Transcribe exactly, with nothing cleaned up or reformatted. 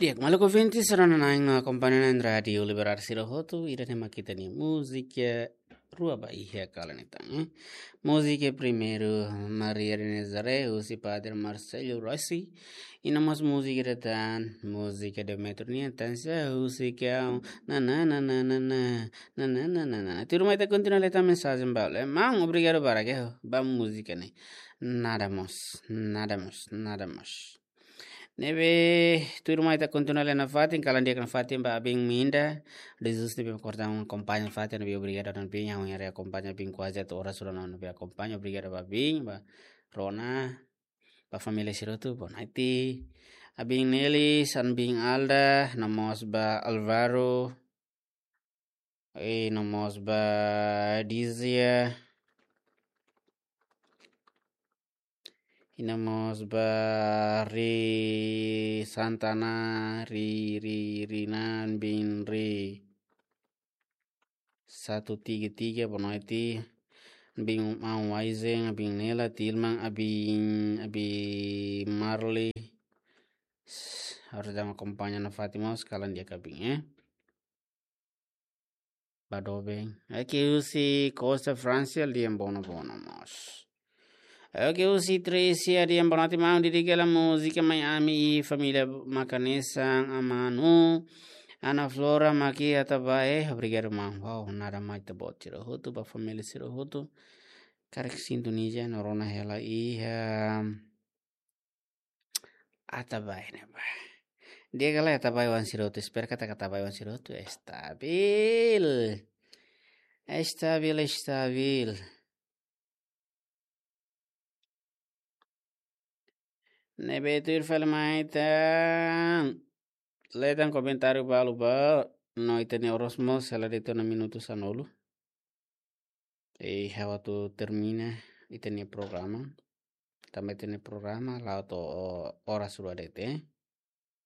Di'ak, maluk ouvinte sira-ne'ebé akompaña ona rádiu Liberdade sira hotu, ida-ne'e mak ita-nia múzika rua ba iha kalan ida-ne'e. Múzika primeiru, Maria de Nazaré, husi Padre Marcelo Rossi. I no mós múzika ida tan, múzika Demetrio nian, Tan Sá Husi Kau, na na na na na na, na na na na na. Tuirmai ita kontinua leta mensajen ba, eh, maun, obrigadu barak ba múzika ne'e. Nada mós, nada mós, nada mós. Ne'ebé, tuirmai ita kontinua leta nafatin, kalan di'ak nafatin ba abin Minda. Jesus ne'ebé kortan akompaña nafatin, ne'ebé obrigadu nafatin, ha'u haree akompaña abin kuaze to'o oras sudah ne'ebé akompaña, obrigadu ba abin, ba Rona, ba família sira hotu, boa noite. Abin Nelis, abin Alda, no mós ba Alvaro, i no mós ba Dizia, i no mós ba Ri Santana, Ri, Ri, Rinan bin Ri satu tiga tiga, boa noite. Abin maun Waizen, abin Nela, Tilman, abin, abin Marley. Harus dama akompaña nafatin mós, kalan di'ak abin, eh. Ba doben. Oke, husi Costa França, Liam Bono Bono mós. Oke, husi Tresia, Liam Bono, ati maun, dedika hela múzika mai ami i família mak hanesan amanu, Ana Flora mak iha Atabae, obrigadu maun. Wow, nada mós ita-boot sira hotu, ba família sira hotu. Karik sintoniza no rona hela iha Atabae ne'ebá. Di'ak ka lae Atabae oan sira hotu, espera katak Atabae oan sira hotu estabil. Estabil, estabil. Ne'ebé tuir fali mai ita leta komentáriu balu ba, no ita-nia oras mós hela de'it ona minutu sanulu. I ha'u atu termina ita-nia programa. Tanba ita-nia programa la'o to'o oras rua de'it, eh.